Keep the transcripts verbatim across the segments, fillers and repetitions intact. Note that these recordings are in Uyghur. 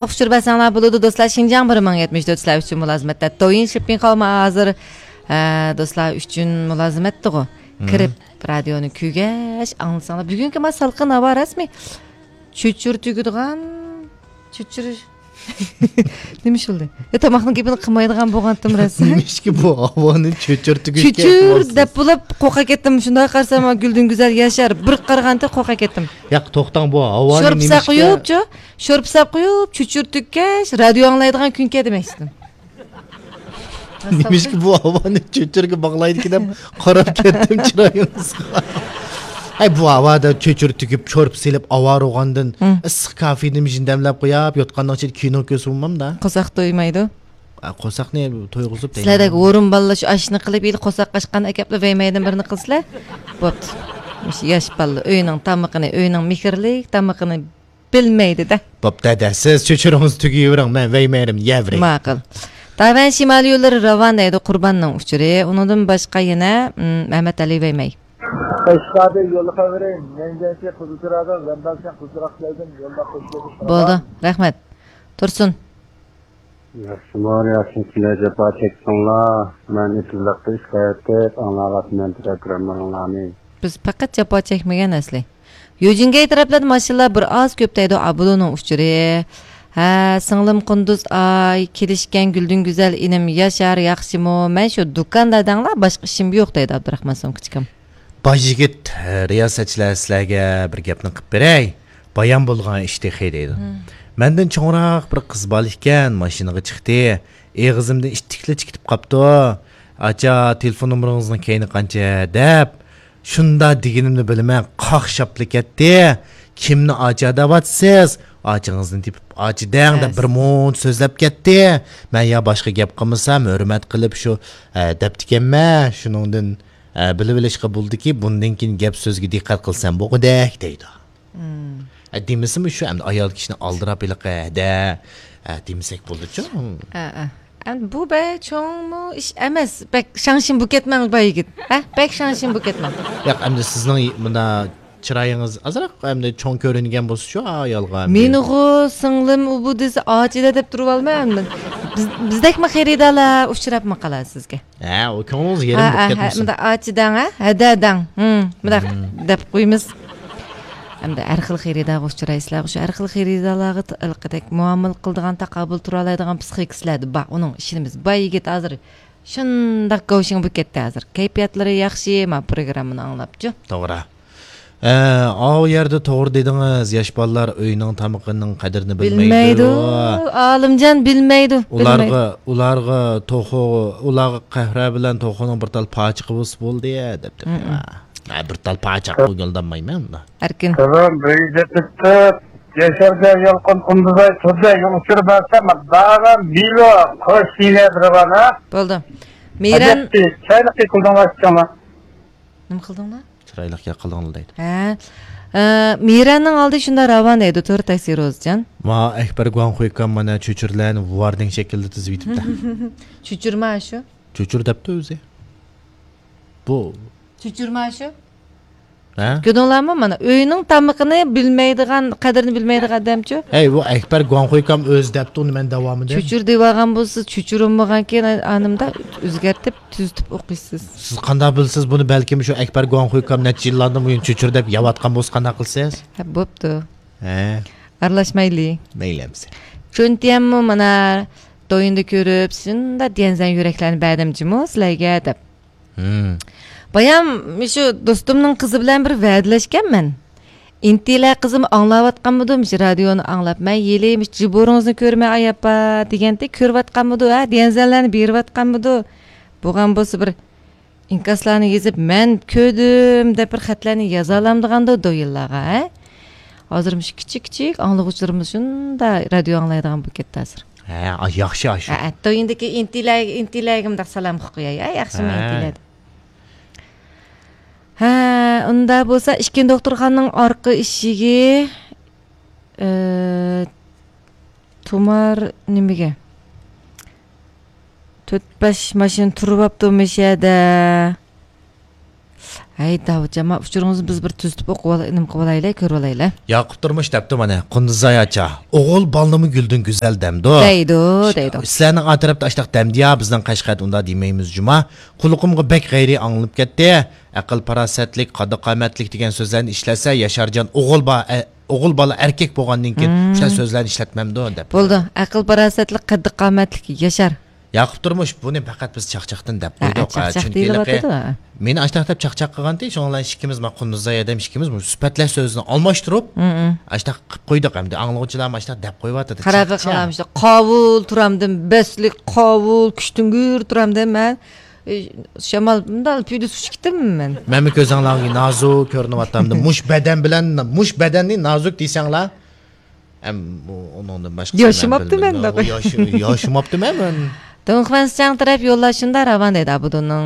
ئۇچۇر بەرسەڭلار بولىدۇ، دوستلار. شىنجاڭ بىر مىڭ يەتمىش تۆت سىلەر ئۈچۈن مۇلازىمەتتە. دويىن شىپپىڭ قالما ھازىر، ئە، دوستلار ئۈچۈن مۇلازىمەتتىغۇ. مم. كىرىپ، رادىيونى كۆرگەچ ئاڭلىساڭلار. بۈگۈنكى ما سالقىن ھاۋا رەسمىي. چۆچۈر تۈگىدىغان، چۆچۈر. نېمە ئىش بولدى؟ يا، تاماقنىڭ گېپىنى قىلمايدىغان بولغانتىم رەسمىي. نېمىشكى بۇ ھاۋانى چۆچۈر تۈگۈتكەن چۆچۈر دەپ بولۇپ قورقا كەتتىم. شۇنداق قارىسام، گۈلدۈن گۈزەل ياشار. بىر قارىغانتى قورقا كەتتىم. ياق، توختاڭ، بۇ ھاۋانى شورپا ساپ نېمىشكە قويۇپچۇ؟ شورپا ساپ قويۇپ، چۆچۈر تۈگكەچ، رادىيو ئاڭلايدىغان كۈن كەلدى مەن ئىشتىن. نېمىشكە بۇ ھاۋانى چۆچۈرگە باغلايدىكىن دەپ قاراپ كەتتىم چىرايىڭىزغا. ھەي، بۇ ھاۋادا چۆچۈر تۈگۈپ، شورپا سېلىپ، ئاۋارە بولغاندىن ھە. ئىسسىق كافېدىن يېنىمدە دەملەپ قويۇپ، يوتقاننىڭ ئىچىدە كىنو كۆرسە بولمامدا؟ قورساق تويمايدۇ. ئا، قورساقنى تويغۇزۇپ دەيمەن. سىلەردەك ھورۇن بالىلار شۇ ئاشنى قىلىپ، يىل قورساق ئاچقان ئەكەپلا ۋەيمەيدىن بىرنى قىلسىلەر. بوپتۇ. مۇشۇ ياش بالىلار ئۆينىڭ تامىقىنى، ئۆينىڭ مېھىرلىك تامىقىنى بىلمەيدۇ-دە. بوپتۇ، دەدە، سىز چۆچۈرىڭىز تۈگىيىۋېرىڭ، مەن ۋەيمەيرىم، يەۋېرىڭ. ماقۇل. تاۋەن شىمالىي يوللىرى راۋان دەيدۇ، قۇرباننىڭ ئۇچۇرى. ئۇنىڭدىن باشقا يەنە، مم، مەمەت ئەلى ۋەيمەي. ئەشقادى يوللىقاۋېرىڭ، مەنگەنچە قىزىل چىراغدا، ۋەندالچە قىزىراق كەلدىم، يولدا قوشۇلۇپ. بولدى، رەھمەت. تۇرسۇن. ياخشىمۇ، ياخشى، سىلەر جاپا چەكتىڭلار. مەن ئېتىزلىقتا ئىش قىلىۋېتىپ ئاڭلاۋاتىمەن پروگراممىڭلارنى. بىز پەقەت جاپا چەكمىگەن ئەسلى. يۈجىنگەي تەرەپلەردە ماشىنىلار بىر ئاز كۆپ دەيدۇ، ئابۇلۇنىڭ ئۇچۇرى. ھە، سىڭلىم قۇندۇز ئاي، كېلىشكەن گۈلدۈن گۈزەل ئىنىم ياشار، ياخشىمۇ؟ مەن شۇ دۇكاندا دەڭلار، باشقا ئىشىم يوق دەيدۇ ئابدۇراخمان سومكىچىكىم. باي يىگىت، رىياسەتچىلەر سىلەرگە بىر گەپنى قىپ بېرەي. بايام بولغان ئىش تېخى دەيدۇ. مەندىن چوڭراق بىر قىز بالا ئىكەن، ماشىنىغا چىقتى. ئېغىزىمدىن ئىتتىكلىچە كېتىپ قاپتۇ. «ئاچا، تېلېفون نومۇرىڭىزنىڭ كەينى قانچە؟» دەپ، شۇنداق دېگىنىمنى بىلمەي قاقشاپلا كەتتى. «كىمنى ئاچا دەۋاتىسىز؟ ئاچىڭىزنى تېپىپ ئاچا دەڭ» دەپ بىر مۇنچە سۆزلەپ كەتتى. مەن يا باشقا گەپ قىلمىسام، ھۆرمەت قىلىپ شۇ، ئە، دەپتىكەنمەن. شۇنىڭدىن، ئە، بىلىۋېلىشقا بولدىكى، بۇندىن كېيىن گەپ سۆزگە دىققەت قىلسام بولغۇدەك دەيدۇ. ئە، دېمىسىمۇ شۇ، ئەمدى ئايال كىشىنى ئالدىراپ ھېلىقى ھەدە، ئە، دېمىسەك بولىدۇچۇ. ئە، ئە. ئەمدى بۇ بەك چوڭمۇ ئىش ئەمەس. بەك شاڭشىن بولۇپ كەتمەڭ، باي يىگىت. ھە؟ بەك شاڭشىن بولۇپ كەتمەڭ. ياق، ئەمدى سىزنىڭ مۇندا چىرايىڭىز ئازراق ئەمدى چوڭ كۆرۈنگەن بولسىچۇ ئايالغا ئەمدى. مېنىغۇ سىڭلىم ئۇ بۇ دېسە، ئاچىدە دەپ تۇرۇۋالماڭ ئەمدى. بىز، بىزدەكمۇ خېرىدارلار ئۇچراپمۇ قالار سىزگە. ھە، ئۇ كۆڭلىڭىز يېرىم ھە، بولۇپ ھە، ھە، كەتمىسۇن. مۇنداق ئاچىدەڭ، ھە؟ ھەدەدەڭ. ھىم، مۇنداق دەپ قويىمىز. ئەمدى ھەر خىل خېرىدارغا ئۇچرايسىلەر. شۇ ھەر خىل خېرىدارلارغا ت-، ھېلىقىدەك مۇئامىلە قىلىدىغان، تاقابىل تۇرالايدىغان پسىخىكا سىلەردە بار. ئۇنىڭغا ئىشىنىمىز. باي يىگىت ھازىر شۇنداق گاۋشىڭ بولۇپ كەتتى ھازىر. كەيپىياتلىرى ياخشى، ما پروگراممىنى ئاڭلاپچۇ. توغرا. ئە، ئاۋۇ يەردە توغرا دېدىڭىز، ياش بالىلار ئۆينىڭ تامىقىنىڭ قەدرىنى بىلمەيدۇ. بىلمەيدۇ. ئالىمجان بىلمەيدۇ. ئۇلارغا، بىلمەيدۇ. ئۇلارغا توخۇ، ئۇلارغا قەھۋە بىلەن توخۇنىڭ بىر تال پاچىقى بولسا بولدى، دەپتۇ. ھە، بىر تال پاچاق گۈلدانمايمەن ئۇندا. ئەركىن. سالام، بىر يۈز يەتمىش تۆت. ياشارجان يالقۇن قۇندۇزاي تۇردى، يول ئۇچۇرى بەرسەم، داغا بىلو، خوش يېنە بىر بار، ھە؟ بولدى. مىران. ھەجەتتى، چايلىق قىلدىڭلار، ئىچىڭلار. نېمە قىلدىڭلار؟ چىرايلىق گەپ قىلدىڭلار دەيدۇ. ھە. ئە، مىراننىڭ ئالدى شۇنداق راۋان دەيدۇ، تور تاكسى روزىجان. ما ئەكبەر گۇاڭخۇيكام مانا چۆچۈرىلەرنى ۋاردىڭ شەكلىدە تىزىۋېتىپتۇ. چۆچۈرما شۇ. چۆچۈر دەپتۇ ئۆزى. بۇ. چۆچۈرما شۇ. ھە؟ كۆردۈڭلارمۇ؟ مانا ئۆينىڭ تامىقىنى بىلمەيدىغان، قەدرىنى بىلمەيدىغان ئادەمچۇ؟ ھەي، بۇ ئەكبەر گۇاڭخۇيكام ئۆزى دەپتۇ، ئۇنى مەن داۋامىدا. چۆچۈر دېۋالغان بولسا، چۆچۈرۈلمىغانكەن، ئانىمدا ئۆزگەرتىپ، تۈزىتىپ ئوقۇيسىز. سىز قانداق بىلىسىز بۇنى؟ بەلكىم شۇ ئەكبەر گۇاڭخۇيكام نەچچە يىللاردىن بۇيان چۆچۈر دەپ يەۋاتقان بولسا قانداق قىلىسىز؟ ھە، بوپتۇ. ھە. ئارىلاشمايلى. مەيلى ئەمىسە. چۈنتيەنمۇ مانا دويۇندا كۆرۈپ، شۇنداق ديەنزەن يۈرەكلەرنى بەردىم جۇمۇ سىلەرگە دەپ. ھىم. بايام مۇشۇ دوستۇمنىڭ قىزى بىلەن بىر ۋەدىلەشكەنمەن. ئىنتىلە قىزىم ئاڭلاۋاتقانمىدۇ مۇشۇ رادىيونى ئاڭلاپ، مەن يېلى مۇشۇ جىبورىڭىزنى كۆرمەي ئاياپا دېگەنتى، كۆرۈۋاتقانمىدۇ ھە، ديەنزەنلەرنى بېرىۋاتقانمىدۇ؟ بولغان بولسا بىر ئىنكاسلارنى يېزىپ، مەن كۆردۈم دەپ بىر خەتلەرنى يازالامدىغاندۇ دويىنلارغا، ھە؟ ھازىر مۇشۇ كىچىك كىچىك ئاڭلىغۇچىلىرىمىز شۇنداق رادىيو ئاڭلايدىغان بولۇپ كەتتى ھازىر. ھە، ئاش-، ياخشى ئاشۇ. ھە، ئەتتويۇندىكى ئىنتىلەگە، ئىنتىلەگە مۇنداق سالام قوياي، ھە، ياخشىمۇ ھە. ئىنتىلە دەپ. ھە، ئۇندا بولسا ئىككىنچى دوختۇرخانىنىڭ ئارقا ئىشىكى، ئى، تۇمار نېمىگە؟ تۆت بەش ماشىنا تۇرۇۋاپتۇ مۇشۇ يەردە. ھەي، داۋۇتجان، ما ئۇچۇرىڭىزنى بىز بىر تۈزىتىپ ئوقۇۋالاي، نېمە قىلىۋالايلى، كۆرۈۋالايلى. ياقۇپ تۇرمۇش دەپتۇ مانا، قۇندۇزاي ئاچا، ئوغۇل بالىنىمۇ گۈلدىن گۈزەل دەمدۇ. دەيدۇ، دەيدۇ. سىلەرنىڭ ئا تەرەپتە ئاشتاق دەمدىيا، بىزنىڭ قەشقەردە ئۇنداق دېمەيمىز جۇما. قۇلىقىمغا بەك غەيرىي ئاڭلىنىپ كەتتى. ئەقىل پاراسەتلىك، قاددى قامەتلىك دېگەن سۆزلەرنى ئىشلەتسە، ياشارجان ئوغۇل با-، ئە، ئوغۇل بالا ئەركەك بولغاندىن كېيىن مم. شۇنداق سۆزلەرنى ئىشلەتمەمدۇ دەپ. بولدى، ئەقىل پاراسەتلىك، قەددى قامەتلىك، ياشار. ياقۇپ تۇرمۇش، بۇنى پەقەت بىز چاقچاقتىن دەپ ھە، قويدۇق. چاقچاق چۈنكى دېيىلىۋاتىدۇ. مېنى ئاشتاق دەپ چاقچاق قىلغانتى، شۇنىڭ بىلەن ئىككىمىز، ما قۇندۇزاي ھەدەم ئىككىمىز مۇشۇ سۈپەتلەر سۆزىنى ئالماشتۇرۇپ، مم. ئاشتاق قىلىپ قويدۇق. ئەمدى ئاڭلىغۇچىلارمۇ ئاشتاق دەپ قويۇۋاتىدۇ. قاراپ چاقچاق. قاۋۇل تۇرامدىم، بەسلىك قاۋۇل، كۈچتۈڭگۈر تۇرامدىم مەن. ئى، شامال، مۇنداق پۈيدە سۇچ كېتىممەن مەن. مەنمۇ كۆزۈڭلارغا نازۇك كۆرۈنۈۋاتامدۇ؟ مۇش بەدەن بىلەن، مۇش بەدەننى نازۇك دېسەڭلار. ئەم، ئۇ، ئۇنىڭدىن باشقىسى ياشىماپتىمەن، مەن بىلمىدىم. دەپ. ياشىماپتىمەن مەن. دۇڭخۇەنسىچياڭ تەرەپ يوللاشىندا راۋان دەيدۇ ئابۇدۇننىڭ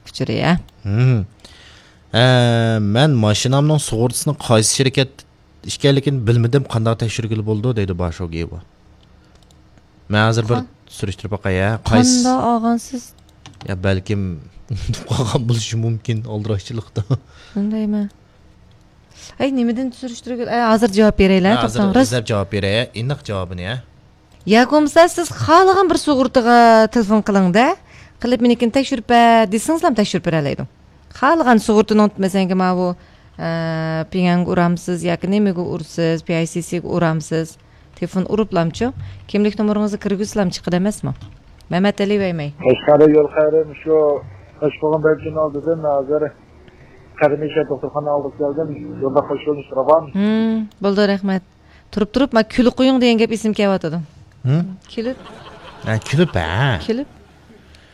ئۇچۇرى، ھە. ھە، مەن ماشىنامنىڭ سۇغۇرتىسىنى قايسى شىركەت ئىكەنلىكىنى بىلمىدىم، قانداق تەكشۈرگىلى بولىدۇ دەيدۇ باشوگېيۋا. مەن ھازىر بىر قا- سۈرۈشتۈرۈپ باقاي، ھە. قايسى قانداق ئالغانسىز؟ يا بەلكىم ئۇنتۇپ قالغان بولۇشى مۇمكىن ئالدىراشچىلىقتا. شۇندايمۇ؟ ئەي، نېمىدىن سۈرۈشتۈرگىلى؟ ئەي، ھازىر جاۋاب بېرەيلى، ھە، ھازىر توختاڭ، راست. ئىزدەپ جاۋاب بېرەي، ھە. ئېنىق جاۋابىنى، ھە. ياكى بولمىسا سىز خالىغان بىر سۇغۇرتىغا تېلېفون قىلىڭ-دە، قىلىپ مېنىڭكىنى تەكشۈرۈپ بەر دېسىڭىزلا تەكشۈرۈپ بېرەلەيدۇ. خالىغان سۇغۇرتىنىڭ، مەسىلەن، ماۋۇ، ئە، پىڭئەنگە ئۇرامسىز ياكى نېمىگە ئۇرىسىز، پى ئاي سى سىگە ئۇرامسىز، تېلېفون ئۇرۇپلامچۇ، كىملىك نومۇرىڭىزنى كىرگۈزسىلام چىقىدۇ ئەمەسمۇ؟ مەمەتئەلى ۋەيمەي. قەشقەردە يول خەيرى، شۇ قوشقوغۇن بەلچىنىڭ ئالدىدىن ھازىر قەدىمىي شەھەر دوختۇرخانا ئالدىغا كەلدىم. يولدا خوش يوللىنىش راۋان. ھىم، بولدى، رەھمەت. تۇرۇپ تۇرۇپ، ما كۈلۈپ قويۇڭ دېگەن گەپ ئېسىمگە كېلىۋاتىدۇ. ھىم؟ كۈلۈپ. ھە، كۈلۈپ، ھە. كۈلۈپ.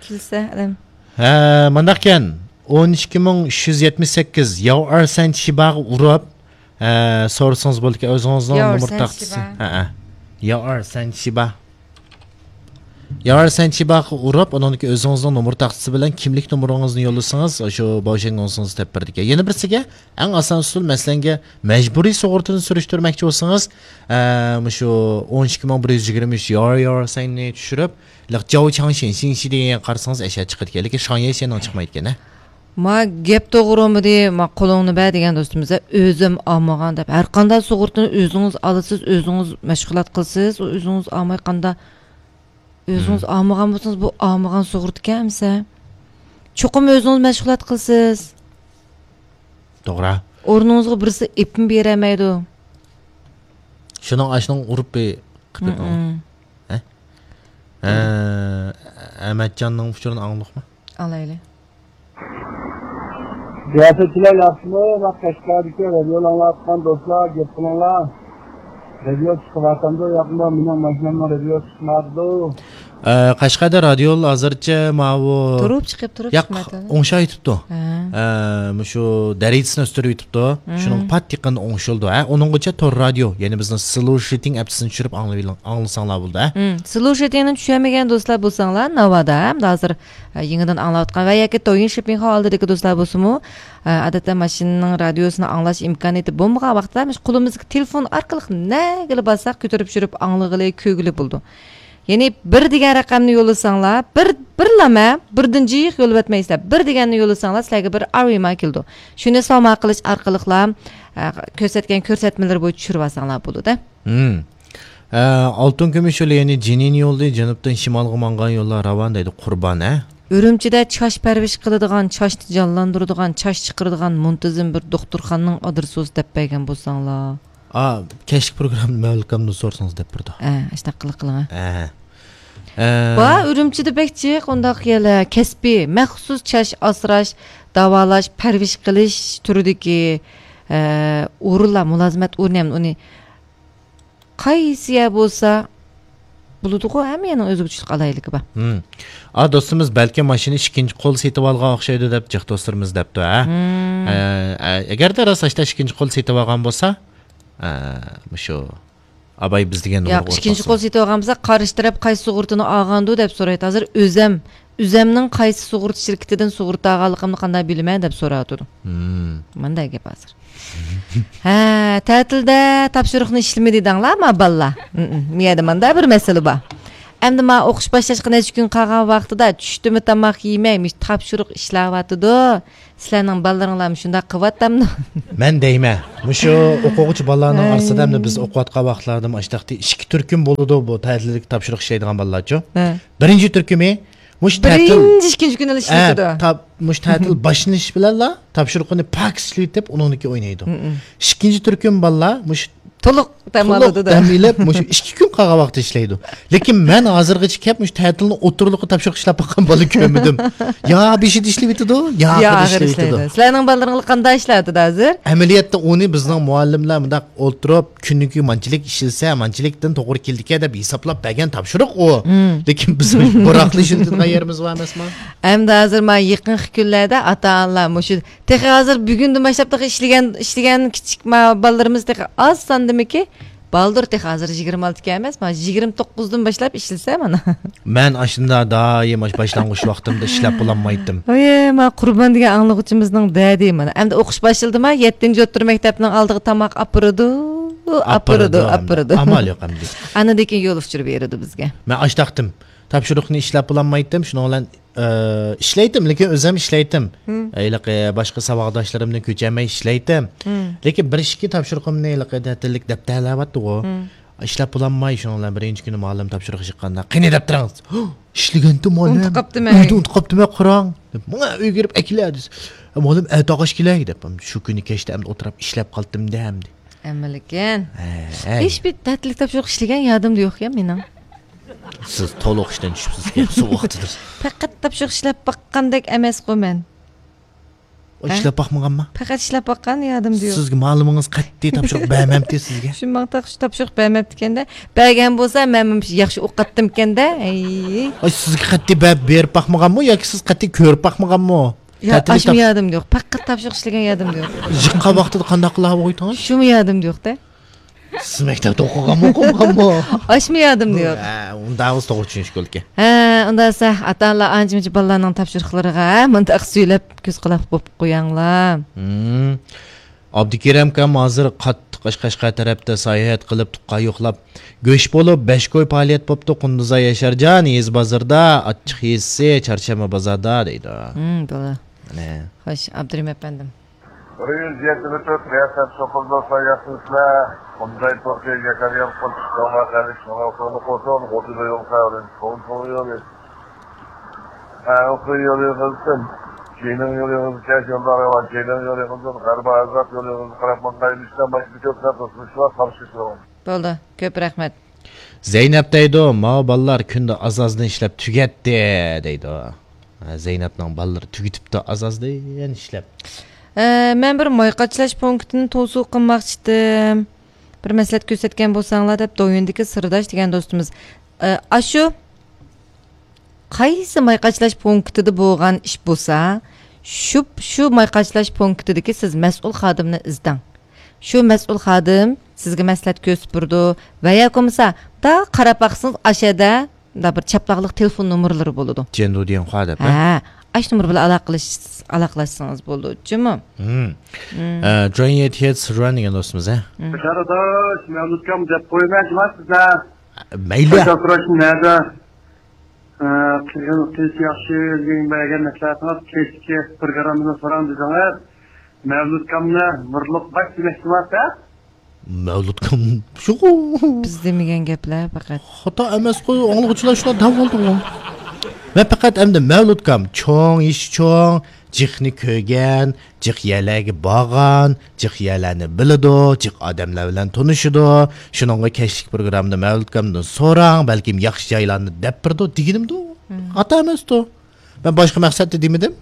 كۈلسە ئادەم. ھە، مانداقكەن. ئون ئىككى مىڭ ئۈچ يۈز يەتمىش سەككىز ياۋ ئەر سەن شىباغا ئۇرۇپ، ھە، سورىسىڭىز بولىدىكەن، ئۆزىڭىزنىڭ ياۋ ئەر نومۇر سەن تاختىسى. شىبا. ھە، ھە. ياۋ ئەر سەن شىبا. ياۋ ئەر سەن شىباغا ئۇرۇپ، ئۇنىڭدىكى ئۆزىڭىزنىڭ نومۇر تاختىسى بىلەن كىملىك نومۇرىڭىزنى يوللىسىڭىز، شۇ باۋشەنگوڭسىڭىز تېپىپ بېرىدىكەن. يەنە بىرسىگە، ئەڭ ئاسان ئۇسۇل، مەسىلەنگە، مەجبۇرىي سۇغۇرتىنى سۈرۈشتۈرمەكچى بولسىڭىز، ئە، مۇشۇ ئون ئىككى مىڭ بىر يۈز يىگىرمە ئۈچ يار يار سەننى چۈشۈرۈپ، لىق جاۋ چاڭشىن شىنشى دېگەنگە قارىسىڭىز، ئەشە چىقىدىكەن. لېكىن شاڭيەي شيەننىڭ چىقمايدىكەن، ھە؟ ما گەپ توغرىمىدى، ما قولۇڭنى بەر دېگەن دوستىمىز، ئۆزۈم ئالمىغان دەپ. ھەر قانداق سۇغۇرتىنى ئۆزىڭىز ئالىسىز، ئۆزىڭىز مەشغۇلات قىلىسىز، ئۆزىڭىز ئالماي قاندا-، ئۆزىڭىز مم. ئالمىغان بولسىڭىز، بۇ ئالمىغان سۇغۇرتىكەن ئەمىسە. چوقۇم ئۆزىڭىز مەشغۇلات قىلىسىز. توغرا. ئورنىڭىزغا بىرسى ئېپىم بېرەلمەيدۇ. شۇنىڭ ئاشۇنىڭ ئۇرۇپ بىر قىپىدۇ. مم. ھە؟ ھە، ئەمەتجاننىڭ ئۇچۇرىنى ئاڭلىدۇقمۇ؟ ئالايلى. رىياسەتچىلەر ياخشىمۇ؟ مانا قەشقەردىكى رادىيونى ئاڭلاۋاتقان دوستلار، گەپ قىلىڭلار. رادىيو چىقىۋاتامدۇ ياقمۇ؟ مېنىڭ ماشىنامنىڭ رادىيوسى چىقمايدۇ. ئە، قەشقەردە رادىيو ھازىرچە ماۋۇ تۇرۇپ چىقىپ، تۇرۇپ ياق، چىقمايدۇ. ئوڭشاۋېتىپتۇ. ھە. ئە، مۇشۇ دەرىجىسىنى ئۆستۈرۈۋېتىپتۇ. مم. شۇنىڭ پات يېقىندا ئوڭشىلىدۇ. ھە، ئۇنىڭغىچە تور رادىيو، يەنى بىزنىڭ سلوشىتىڭ ئەپسىنى چۈشۈرۈپ ئاڭلىۋېلىڭ-، ئاڭلىساڭلار بولىدۇ، ھە. مم. سلوشىتىڭنى چۈشەنمىگەن دوستلار بولساڭلار، ناۋادا، ھەمدە ھازىر، ئە، يېڭىدىن ئاڭلاۋاتقان ۋە ياكى دويىن شىپىڭخاۋ ئالدىدىكى دوستلار بولسىمۇ، ئە، ئادەتتە ماشىنىنىڭ رادىيوسىنى ئاڭلاش ئىمكانىيىتى بولمىغان ۋاقىتتا، مۇشۇ قولىمىزدىكى تېلېفون ئارقىلىق نەگىلا بارساق كۆتۈرۈپ چۈشۈرۈپ ئاڭلىغىلى، كۆرگىلى بولىدۇ. يەنى بىر دېگەن رەقەمنى يوللىساڭلار، بىر، بىرلىمە، بىردىن جىق يوللىۋەتمەيسىلەر. بىر دېگەننى يوللىساڭلار، سىلەرگە بىر ئارۋىما كېلىدۇ. شۇنى سوما قىلىش ئارقىلىقلا، ئە، كۆرسەتكەن كۆرسەتمىلىرى بويىچە چۈشۈرۈۋالساڭلار بولىدۇ. ھىم. ئە، ئالتۇن كۈمۈش يولى، يەنى جېنىن يولى، جەنۇبتىن شىمالغا ماڭغان يوللار راۋان دەيدۇ، قۇربان، ھە؟ ئۈرۈمچىدە چاچ پەرۋىش قىلىدىغان، چاچنى جانلاندۇرىدىغان، چاچ چىقىرىدىغان مۇنتىزىم بىر دوختۇرخانىنىڭ ئادرېسىنى دەپ بەرگەن بولساڭلار. ئا، كەچلىك پروگراممىنى مەۋلىكامدىن سورىسىڭىز دەپ بېرىدۇ. ئە، ئاشۇنداق قىلىڭ، قىلىڭ. ئە. ئە. بار، ئۈرۈمچىدە بەك جىق ئۇنداق يەرلەر، كەسپىي، مەخسۇس چاچ ئاسراش، داۋالاش، پەرۋىش قىلىش تۈرىدىكى، ئە، ئورۇنلار، مۇلازىمەت ئورنى، ھەم ئۇنى قايسى يەر بولسا بولىدىغۇ، ھەممە يەرنىڭ ئۆزىگە چۈشلۈك ئالاھىدىلىكى بار. ھىم. ئا، دوستىمىز بەلكىم ماشىنا ئىككىنچى قول سېتىۋالغان ئوخشايدۇ دەپ جىق دوستلىرىمىز دەپتۇ، ھە؟ ھىم. ئە، ئە، ئەگەردە راست ئاشتا ئىككىنچى قول سېتىۋالغان بولسا، ئە، مۇشۇ ئاباي بىز دېگەن ياق، نومۇرغا ئىككىنچى قول سېتىۋالغان بولسا، قارشى تەرەپ قايسى سۇغۇرتىنى ئالغاندۇ دەپ سورايدۇ. ھازىر ئۆزەم، ئۆزەمنىڭ قايسى سۇغۇرتا شىركىتىدىن سۇغۇرتا ئالغانلىقىمنى قانداق بىلىمەن دەپ سوراۋاتىدۇ. ھىم. مانداق گەپ ھازىر. ھە، تەتىلدە تاپشۇرۇقنى ئىشلىمىدى دەڭلارما بالىلار؟ ھىم، ھىم. مۇ يەردە ماندا بىر مەسىلە بار. ئەمدى مانا ئوقۇش باشلاشقا نەچچە كۈن قالغان ۋاقتىدا چۈشتىمۇ تاماق يېمەي، مۇشۇ تاپشۇرۇق ئىشلەۋاتىدۇ. سىلەرنىڭ بالىلىرىڭلارمۇ شۇنداق قىلىۋاتامدۇ؟ مەن دەيمەن، مۇشۇ ئوقۇغۇچى بالىلارنىڭ ئارىسىدا ئەمدى بىز ئوقۇۋاتقان ۋاقىتلاردىمۇ ئاشتاقتى ئىككى تۈركۈم بولىدۇ، بۇ تەتىللىك تاپشۇرۇق ئىشلەيدىغان بالىلارچۇ. ھە. بىرىنچى تۈركۈمى مۇشۇ تەتىل، بىرىنچى، ئىككىنچى كۈنىلا ئىشلىتىدۇ. ھە، تا-، مۇشۇ تەتىل باشلىنىشى بىلەنلا تاپشۇرۇقىنى پاكىز ئىشلىتىپ، ئۇنىڭدىن كېيىن ئوينايدۇ. مم. ئىككىنچى تۈركۈم بالىلار مۇشۇ تولۇق دەم تولۇق ئالىدۇ-دە. دەم ئېلىپ، مۇشۇ ئىككى كۈن قالغان ۋاقىتتا ئىشلەيدۇ. لېكىن مەن ھازىرغىچە كەپ، مۇشۇ تەتىلنىڭ ئوتتۇرىلىقى تاپشۇرۇق ئىشلەپ باققان بالا كۆرمىدىم. يا بېشىدا ئىشلىۋېتىدۇ، يا يا ئاخىرىدا ئاخىرى ئىشلەيدۇ. ئىشلەيدۇ. سىلەرنىڭ بالىلىرىڭلار قانداق ئىشلەۋاتىدۇ ھازىر؟ ئەمەلىيەتتە ئۇنى بىزنىڭ مۇئەللىملەر مۇنداق ئولتۇرۇپ، كۈنىگە مانچىلىك ئىشلىسە، مانچىلىكتىن توغرا كېلىدىكەن دەپ ھېسابلاپ بەرگەن تاپشۇرۇق ئۇ. مم. لېكىن بىز بۇراقلا ئىشلىتىدىغان يېرىمىز بار ئەمەسما؟ ئەمدى ھازىر مانا يېقىنقى كۈنلەردە ئاتا-ئانىلار مۇشۇ تېخى ھازىر بۈگۈندىن باشلاپ تېخى ئىشلىگەن، ئىشلىگەن كىچىك ما-، بالىلىرىمىز تېخى ئاز ساندىمىكى؟ بالدۇر تېخى ھازىر يىگىرمە ئالتە ئىكەن ئەمەس، مانا يىگىرمە توققۇزدىن باشلاپ ئىشلىسە مانا. مەن ئاشۇنداق دائىم ئاشۇ باشلانغۇچ ۋاقتىمدا ئىشلەپ بولالمايتتىم. ئايە، ما قۇربان دېگەن ئاڭلىغۇچىمىزنىڭ دەردى مانا. ئەمدى ئوقۇش باشلىدىما، يەتتىنچى ئوتتۇرا مەكتەپنىڭ ئالدىغا تاماق ئاپىرىدۇ، ئاپىرىدۇ، ئاپىرىدۇ، ئاپىرىدۇ. ئامال يوق ئەمدى. ئاندىن كېيىن يول ئۇچۇرى بېرىدۇ بىزگە. مەن ئاشتاقتىم. تاپشۇرۇقنى ئىشلەپ بولالمايتتىم، شۇنىڭ بىلەن ئى، ئىشلەيتتىم، لېكىن ئۆزۈم ئىشلەيتتىم. ھىم. ھېلىقى باشقا ساۋاقداشلىرىمدىن كۆچەلمەي ئىشلەيتتىم. ھىم. لېكىن بىر ئىككى تاپشۇرۇقۇمنى ھېلىقى تەتىللىك دەپتەرلەۋاتتىغۇ. ھىم. ئىشلەپ بولالماي، شۇنىڭ بىلەن بىرىنچى كۈنى مۇئەللىم تاپشۇرۇق چىققاندا، قېنى دەپتىرىڭىز؟ ئىشلىگەنتىم مۇئەللىم. ئۇنتۇپ قاپتىمەن. ئۆيدە ئۇنتۇپ قاپتىمەن، قاراڭ. دەپ، ماڭا ئۆيگە كىرىپ ئەكېلە دېسە. مۇئەللىم ئەتە ئاغاچ كېلەي دەپ، شۇ كۈنى كەچتە ئەمدى ئولتۇرۇپ ئىشلەپ قالدىم دە ئەمدى. ئەمەلىكەن. ھەي. ھېچبىر تەتىللىك تاپشۇرۇق ئىشلىگەن يادىمدا يوق يا مېنىڭ. سىز تولۇق ئىشتىن چۈشۈپسىز، سوغۇقتىدۇر. پەقەت تاپشۇرۇق ئىشلەپ باققاندەك ئەمەسقۇ مەن. ئىشلەپ باقمىغانما؟ پەقەت ئىشلەپ باققان يادىمدا يوق. سىزگە مۇئەللىمىڭىز قەتئىي تاپشۇرۇق بەرمەمتى سىزگە؟ شۇ ماڭا تاپشۇرۇق بەرمەپتىكەندە. بەرگەن بولسا مەنمۇ ياخشى ئوقۇتاتتىمكەندە. ئەي. ئاي، سىزگە قەتئىي بەرىپ باقمىغانمۇ ياكى سىز قەتئىي كۆرۈپ باقمىغانمۇ؟ يا، تەتىللىك ئاشمۇ تاپشۇرۇق يادىمدا يوق. پەقەت تاپشۇرۇق ئىشلىگەن يادىمدا يوق. يىغقان ۋاقتىدا قانداق قىلىپ قويدىڭىز؟ شۇمۇ يادىمدا يوق-دە. سىز مەكتەپتە ئوقۇغانمۇ، ئوقۇمىغانمۇ؟ ئاشمۇ يادىمدا يوق. ھە، ئۇنداق بولسا توغرا چۈشىنىشكە بولىدىكەن. ھە، ئۇنداق دېسە، ئاتا-ئانىلار ئانچە-مۇنچە بالىلارنىڭ تاپشۇرۇقلىرىغا مۇنداق سۈيلەپ كۆز-قۇلاق بولۇپ قوياڭلار. ھىم. ئابدۇكېرىم ئاكام ھازىر قاتتىق قەشقەر تەرەپتە ساياھەت قىلىپ، تۇغقان يوقلاپ، گۆش بولۇپ، بەش كوي پائالىيەت بوپتۇ، قۇندۇزاي ياشارجان، يېزا بازىرىدا، ئاچچىق يېزىسى، چارشەنبە بازاردا دەيدۇ. ھىم، بولدى. مانا. خوش، ئابدۇرېھىم ئەپەندىم. بىر يۈز يەتمىش تۆت رىياسەت سوقۇلدۇرسا ياخشىسىلەر. قۇمداي توختى يەكەر يەر قوشۇش داۋا قەلىش نوغا قولى قوشۇن، غوتىدا يول سەۋرىن، قول قول يولى. ھە، ئوخۇي يولى قىلسۇن. كېيىنىڭ يولى قىلسۇن، كەش يولدا رەۋان، كېيىنىڭ يولى قىلسۇن، غەربا ئازاد يولى قىلسۇن، قاراپ ماڭغاي، مىشتا باشقا كۆپ سەت قىلسۇن، شۇلار قارشى تۇرۇڭ. بولدى، كۆپ رەھمەت. زەينەپ دەيدۇ، ماۋۇ بالىلار كۈندە ئاز-ئازدىن ئىشلەپ تۈگەتتى، دەيدۇ. ھە، زەينەپنىڭ بالىلىرى تۈگىتىپتۇ ئاز-ئازدىن ئىشلەپ. ئە، مەن بىر ماي قاچىلاش پونكىتىنى توسۇ قىلماقچىدىم. بىر مەسلىھەت كۆرسەتكەن بولساڭلار دەپ، دويىندىكى سىرداش دېگەن دوستىمىز. ئە، ئاشۇ قايسى ماي قاچىلاش پونكىتىدا بولغان ئىش بولسا، شۇ، شۇ ماي قاچىلاش پونكىتىدىكى سىز مەسئۇل خادىمنى ئىزدەڭ. شۇ مەسئۇل خادىم سىزگە مەسلىھەت كۆرسىتىپ بېرىدۇ ۋە ياكى بولمىسا، دا قاراپ باقسىڭىز، ئاشەدە مۇنداق بىر چاپلاقلىق تېلېفون نومۇرلىرى بولىدۇ. جيەندۇ دىيەنخۇا دەپ، ھە؟ ھە، ئاشۇ نومۇر بىلەن ئالاقىلىشىش-، ئالاقىلاشسىڭىز بولىدۇ، جۇمۇ؟ ھىم. مم. ئە، جۇەن يېتى يەتتە سىرۇەن دېگەن دوستىمىز، ھە؟ مم. بەشەر ئاداش، مەۋلۇتكام دەپ قويىمەن، جۇما سىزدە. مەيلى. قايتا سوراشنى نەدە؟ ئە، قىلغىنىڭىز ياخشى، ئۆزىڭىز بەرگەن مەسلىھەتىڭىز كەچتىكى پروگراممىدا سوراڭ دېدىڭىز. مەۋلۇتكامنى نۇرلۇق باش دېمەكچىمۇ، ھە؟ مەۋلۇتكام شۇ. بىز دېمىگەن گەپلەر پەقەت. خاتا ئەمەسقۇ، ئاڭلىغۇچىلار شۇنداق دەۋالدىغۇ. مەن پەقەت ئەمدى مەۋلۇتكام چوڭ، يېشى چوڭ، جىقنى كۆرگەن، جىق يەرلەرگە بارغان، جىق يەرلەرنى بىلىدۇ، جىق ئادەملەر بىلەن تونۇشىدۇ. شۇنىڭغا كەچلىك پروگراممىدا مەۋلۇتكامدىن سوراڭ، بەلكىم ياخشى جايلارنى دەپ بېرىدۇ دېگىنىمدۇ. مم. خاتا ئەمەستۇ. مەن باشقا مەقسەتتە دېمىدىم.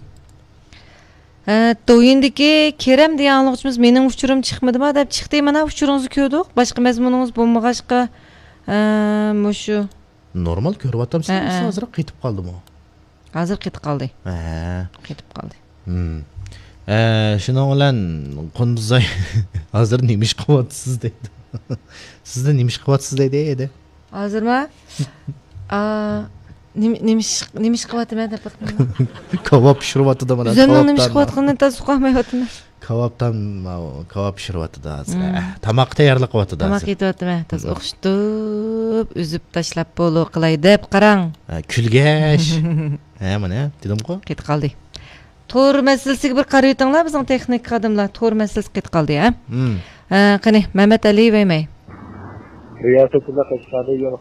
ھە، دويىندىكى كېرەم دېگەن ئاڭلىغۇچىمىز مېنىڭ ئۇچۇرۇم چىقمىدىما دەپ چىقتى. مانا ئۇچۇرىڭىزنى كۆردۇق. باشقا مەزمۇنىڭىز بولمىغاچقا، ھە، مۇشۇ. نورمال كۆرۈۋاتامسىز، ھە، ھە. ھازىر قېتىپ قالدىمۇ؟ ھازىر قېتىپ قالدى. ھە. قېتىپ قالدى. ھىم. ئە، شۇنىڭ بىلەن قۇندۇزاي، ھازىر نېمە ئىش قىلىۋاتىسىز دەيدۇ. سىزدە نېمە ئىش قىلىۋاتىسىز دەيدۇ ئەدە. ھازىرما؟ ئا، نېمە، نېمە ئىش، نېمە ئىش قىلىۋاتىمەن دەپ بېقىمەن. كاۋاپ پىشۇرۇۋاتىدۇ مانا، ئۆزۈمنىڭ نېمە ئىش كاۋاپتان. قىلىۋاتقىنىنى تازا ئۇقالمايۋاتىمەن. كاۋاپتان ماۋۇ كاۋاپ پىشۇرۇۋاتىدۇ ھازىر. مم. ھە، تاماق تەييارلىق قىلىۋاتىدۇ تاماق ھازىر. يېتىۋاتىمەن. تازا مم. ئوخشىتىپ، ئۈزۈپ تاشلاپ بولۇ قىلاي دەپ قاراڭ. ھە، كۈلگەچ. ھە، مانا، دېدىمغۇ. قېتىپ قالدى. تور مەسىلىسىگە بىر قارىۋېتىڭلار، بىزنىڭ تېخنىك خادىملار. تور مەسىلىسى قېتىپ قالدى، ھە؟ مم. ھە، قېنى، مەمەت ئەلى ۋەيمەي. رىياسەتچىلەر قەشقەردە يول